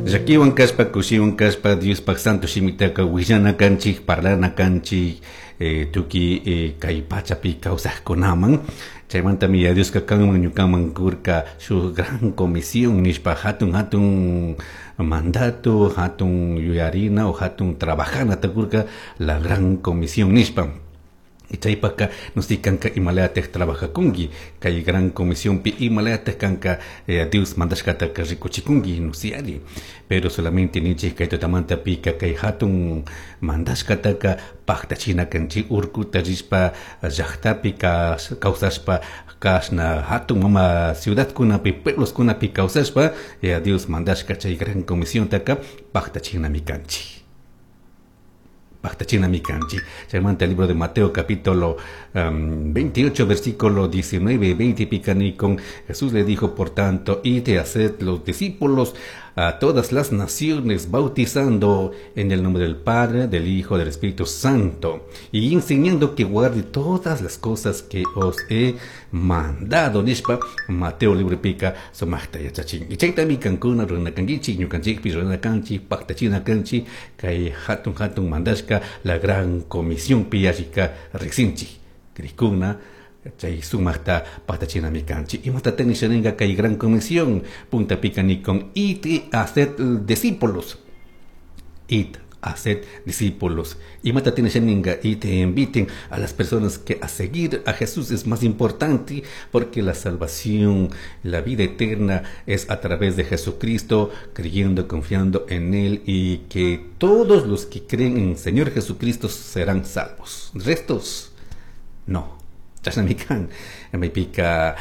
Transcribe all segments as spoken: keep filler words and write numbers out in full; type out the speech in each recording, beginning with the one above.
Llakiwan kashpa kushiwan kashpa Diospaj santo shimitaka willana kanchik parlana kanchik eh, tukuy eh, kay pachapi kawsaqkunaman. Chaymantami ya Dioska kanman ñukaman kurka shuk gran comisión nishpa hatun hatun mandato, hatun yuyarina o hatun trabajana kurka la gran comisión nishpa. Y chaypaka nusikanka imalayataj trabajakunki kay gran comisión pi imalayataj kanka eh, Dios mandashkataka rikuchikunki nusiari pero solamente ninchik kay tutamanta pika kay hatun mandashkataka paktachina kanchik urkuta rishpa llaqtapi kawsashpa kashna hatun mama ciudadkunapi puebloskunapi kawsashpa eh, Dios mandashka chay gran comisión-taka paktachinami kanchik paktachinami kanchik. Chaymanta el libro de Mateo capítulo um, veintiocho versículo diecinueve veinte picani con Jesús le dijo: por tanto, id y haced los discípulos a todas las naciones, bautizando en el nombre del Padre, del Hijo, del Espíritu Santo, y enseñando que guarde todas las cosas que os he mandado. Nishpa Mateo libro pica sumaqta yachachin. Y chaytami kankuna runakankichik, ñukanchikpi runakanchik, paktachina kanchik, kay hatun hatun mandashka la gran comisión piyashika riqsinchik. Krikuna chay sumaqta paktachinami kanchik. Imatataq nishaninka kay gran comisión? Punta pica ni con id y haced discípulos. Id, haced discípulos. Imatataq nishaninka y te inviten a las personas que a seguir a Jesús es más importante, porque la salvación, la vida eterna es a través de Jesucristo, creyendo, confiando en Él, y que todos los que creen en el Señor Jesucristo serán salvos. Restos, no. Chashnami kan maypika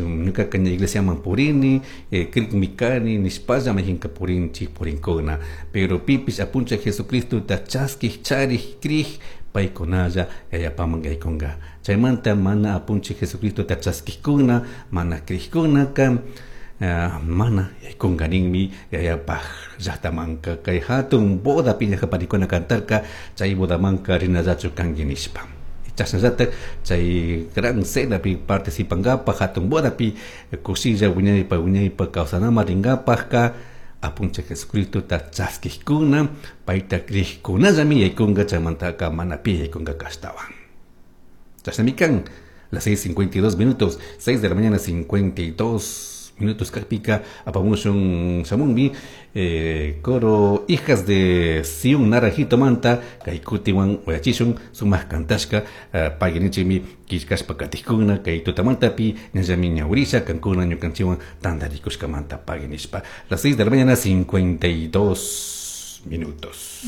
ñuka iglesia man purini, eh, krikmi kani nishpalla mayjinka purinchik purinkuna, pero pipish apunchik Jesucristota chaskij charij krij paykunalla yayapaman yaykunka. Chaymanta mana apunchik Jesucristota chaskijkuna mana krijkunaka Uh, mana yaykunka ninmi yayapaj llaqtamanka. Kay hatun bodapi llaqaparikuna cantarka chay bodamanka rinallachu kanki nishpa. Chashnallataq chay gran cenapi participankapaj hatun bodapi kushilla wiñaypa wiñaypa kawsanaman rinkapajka apunchik Jesucristota chaskijkuna payta krijkunallami yaykunka. Chaymantaka mana pi yaykunka kashtawan. Chashnami kan. Las seis cincuenta y dos minutos, seis de la mañana cincuenta y dos minutos kajpika apamushun shamunmi eh, coro Hijas de Sión Naranjito manta kay kutiwan uyachishun sumaq kantashka uh, paginichimi killkashpa katijkuna kay tutamantapi ñallami ñawrisha kankuna ñukanchiwan tantarikushkamanta paginishpa. Las seis de la mañana cincuenta y dos minutos.